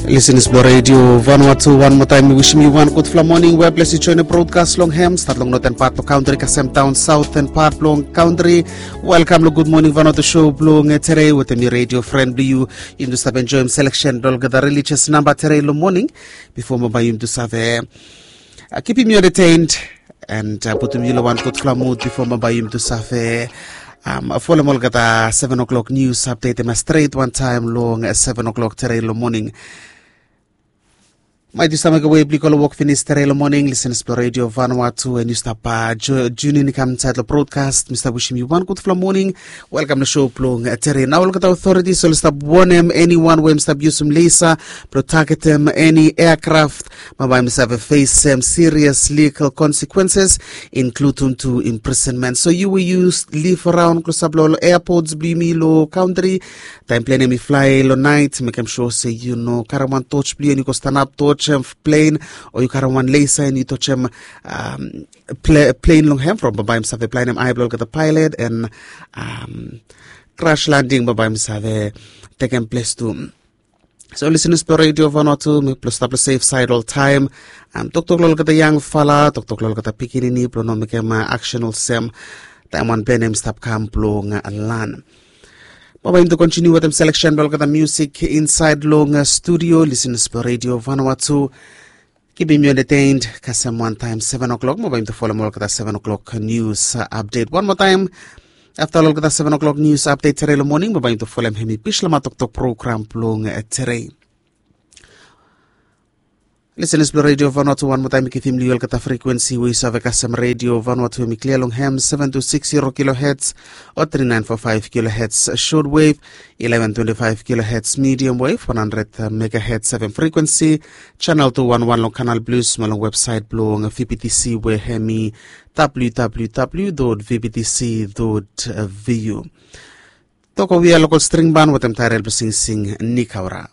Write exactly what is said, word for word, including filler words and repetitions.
Lisenas blong redio Vanuatu, wan moa taem mi wisim yu wan gudfala moning we ples yu joen brodkas long hem, stat long noten pat blong kantri kasem daon saoten pat blong kantri. Welkam long Gud Moning Vanuatu show blong tere wetem mi redio fren blong yu. Yumi tu stap enjoem seleksen blong olgeta religious namba tere long moning. Bifo mo bae yumi tu save kipim yu entertained and putum yu long wan gudfala mud bifo mo bae yumi tu save folem olgeta seven o'clock nius apdet em stret wantaem long seven o'clock tere long moning. Maet yu stap mekem we blong yu go long wok finis tere long moning, lisenas blong redio Vanuatu, en yu stap junin i kam insaed long brodkas, mi stap wisim yu wan gudfala moning. Welkam long show blong tere. Nao olgeta otoritis oli stap wonem eniwan we em stap yusum lesa blong tagetem eni eakraft, bae em save fesem sirias ligal konsekwenses, inkludum tu imprisenmen. So yu we yu liv araon klosap long ol eapots blong yumi long kantri, taem plen em i flae long naet, mekem sua se yu no karem wan toch blong yu en yu go stanap tojem plen, o yu karem wan lesa en yu tojem plen long hem from bae em save blaenem ae blong olgeta paelet en kras landing bae em save tekem ples tu. So lisenas blong redio Vanuatu, mi blong stap long sef saed oltaem. Toktok long olgeta yangfala, toktok long olgeta pikinini blong no mekem aksen olsem taem wan plen em stap kam blong lan. Bae yumi tu kontiniu wetem seleksen blong olgeta musik insaed long studio, lisenas blong redio Vanuatu. Kipim yu entertained kasem wantaem seven o'clock mo bae yumi tu folem olgeta seven o'clock nius apdet wan moa taem. Afta olgeta seven o'clock nius apdet tere long moning mo bae yumi tu folem hemi bislama toktok program blong tere. Lisenas blong redio Vanuatu, wan moa taem mi givim long yu olgeta frekuensi we yu save kasem redio Vanuatu, hemi klia long hem seven two six zero kilohertz o three nine four five kilohertz short wave, eleven twenty five kilohertz medium wave, one hundred megahertz F M frekuensi, channel two one one long Kanal Plus mo long websaet blong V B T C we hemi W W W dot V B T C dot V U. Tok we we ya lokol string ban wetem taerel blong singsing Nikaura.